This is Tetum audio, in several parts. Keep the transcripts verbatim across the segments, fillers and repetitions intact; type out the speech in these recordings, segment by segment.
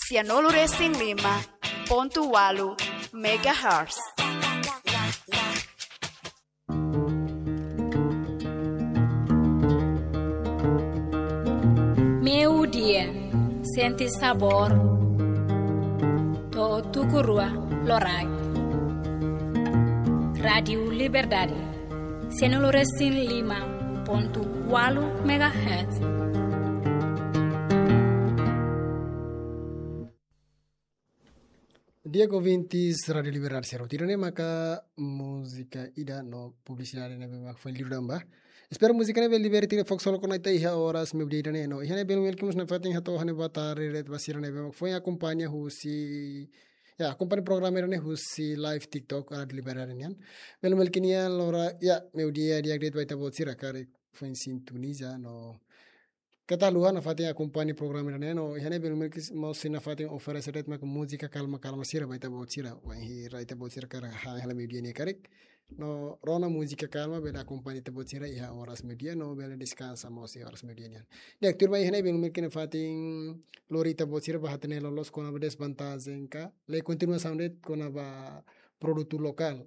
Sianulu resin lima pontu walu megahertz. Meiudia, sente sabór, to'o tuku rua loraik. Rádiu Liberdade, sianulu resin lima pontu walu megahertz. Di'ak ouvintes Rádiu Liberdade sira hotu, ida-ne'e maka múzika ida no publisidade ne'ebé mak foin liu tan ba. Espera múzika ne'e bele liberte ita-nia fokus solo kona-ba ita iha oras meiudia ida-ne'e no iha ne'e bele melki mós nafatin hato'o hane boa tarde de'it ba sira ne'ebé mak foin akompaña husi, ya, akompaña programa ida-ne'e husi live TikTok Rádiu Liberdade nian. Bele melki nia lora, ya, meiudia di'ak de'it ba ita-boot sira karik foin sintoniza no keta haluha nafatin akompaña programa ida-ne'e no iha ne'e bele melki mós sira nafatin oferese de'it mak múzika kalma-kalma sira ba ita-boot sira. Wainhira ita-boot sira karik hahán hela meiudia nia karik, no rona múzika kalma bele akompaña ita-boot sira iha oras meiudia no bele deskansa mós iha oras meiudia nian. Di'ak, tuirmai iha ne'e bele melki nafatin lori ita-boot sira ba hatene loloos kona-ba desvantajen ka lori kontinuasaun de'it kona-ba produtu lokál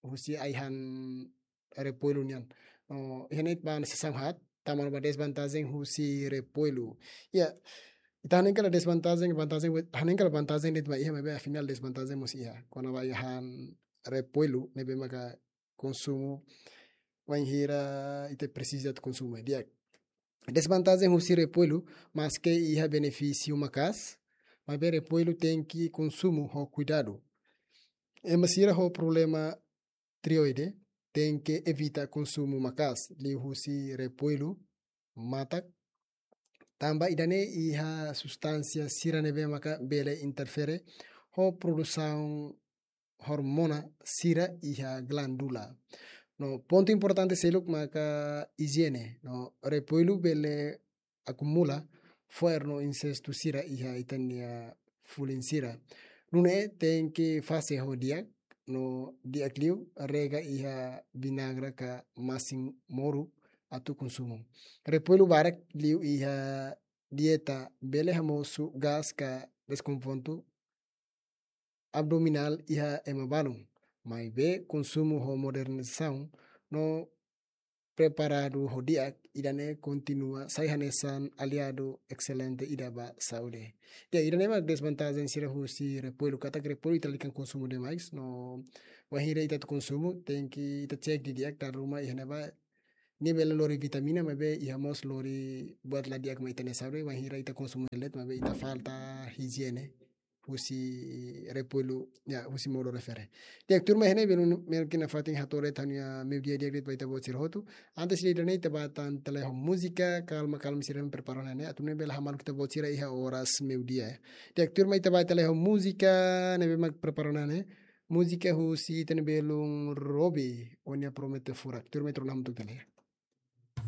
husi ai-han repollu nian. No iha ne'e ba sesaun haat, tama ona ba desvantajen husi repollu. Ya, ita hanehan karik desvantajen, vantajen, hanehan karik vantajen de'it mak iha, maibé afinál desvantajen mós iha kona-ba ai-han repollu ne'ebé maka konsumu wainhira ita presiza atu konsumu. Di'ak, desvantajen husi repollu, maske iha benefísiu maka'as, maibé repollu tenke konsumu ho kuidadu. Ema sira ho problema tireoide tenke evita konsumu maka'as liuhusi repollu matak, tanba ida-ne'e iha substánsia sira ne'ebé maka bele interfere ho produsaun hormona sira iha glándula. No pontu importante seluk maka ijiene. No repollu bele akumula fo'er no insestu sira iha ita-nia fulin sira. Nune'e tenke fase ho di'ak, no di'ak liu rega iha vinagre ka masin-moru atu konsumu. Repollu barak liu iha dieta bele hamosu gás ka deskonfortu abdominál iha ema balun. Maibé konsumu ho moderasaun no preparadu ho di'ak, ida-ne'e kontinua sai hanesan aliadu excelente ida ba saúde. Ya, ida-ne'e mak desvantajen sira husi repollu, katak repollu ita lalika konsumu demais, no wainhira ita atu konsumu, tenke ita cek didi'ak dala ruma iha ne'ebá nia bele lori vitamina, maibé iha mós lori buat la di'ak mai ita-nia saúde, wainhira ita konsumu de'it, maibé ita falta ijiene husi repollu, ya, husi modo refere. Di'ak, tuirmai iha ne'e bele melki nafatin hato'o de'it ha'u-nia meiudia di'ak de'it ba ita-boot sira hotu. Antes de ida-ne'e ita bá tan tale ho múzika kalma-kalma sira ne'ebé prepara ona ne'e, atu nune'e bele hamaluk ita-boot sira iha oras meiudia, ya. Di'ak, tuirmai ita bá tale ho múzika ne'ebé mak prepara ona ne'e. Múzika husi ita-nia belun Robi, Ó-nia Promete Furak. Tuirmai ita rona hamutuk tale.